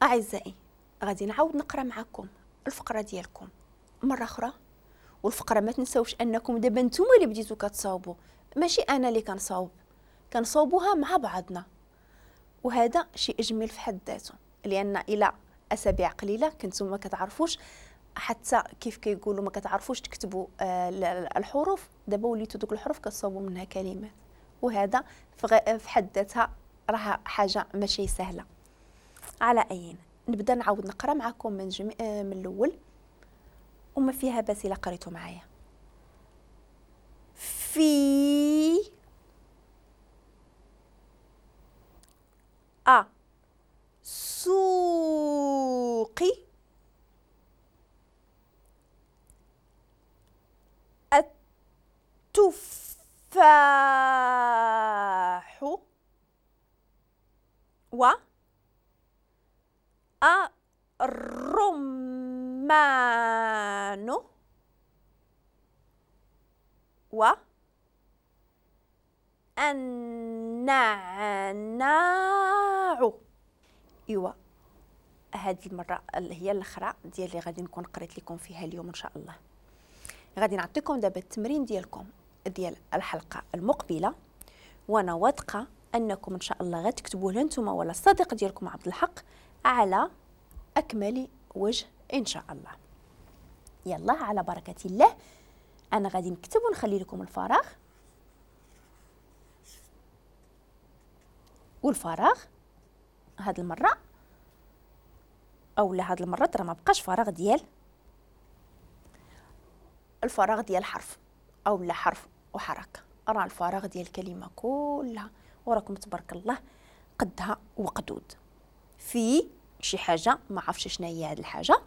اعزائي غادي نعاود نقرا معكم الفقرة ديالكم مرة اخرى، والفقرة ما تنساوش انكم دابا نتوما اللي بديتو كتصاوبوا، ماشي انا اللي كنصاوب، كنصاوبوها مع بعضنا، وهذا شيء جميل في حد ذاته، لان الى اسابيع قليله كنتم ما كتعرفوش حتى كيف كيقولوا، ما كتعرفوش تكتبوا الحروف، دابا وليتو دوك الحروف كتصاوبوا منها كلمات، وهذا في حد ذاتها راه حاجة ماشي سهلة. على اين نبدا نعاود نقرا معكم من من الاول، وما فيها باس الا قريتو معايا. في ا سوق التفاح و الرمان و النعناع. ايوا هذه المرة اللي هي الاخرى ديال اللي غادي نكون قريت لكم فيها اليوم ان شاء الله. غادي نعطيكم دابا التمرين ديالكم ديال الحلقة المقبلة، وانا واثقة انكم ان شاء الله غتكتبوه لا نتوما ولا الصديق ديالكم عبد الحق على اكمل وجه ان شاء الله. يلا على بركة الله، انا غادي نكتب ونخلي لكم الفراغ، والفراغ هاد المرة اولا هاد المرة راه ما بقاش فراغ ديال الفراغ ديال حرف اولا حرف وحركه، راه الفراغ ديال الكلمة كلها، وراكم تبارك الله قدها وقدود في شي حاجة ما عرفتش شنو هي هاد الحاجة.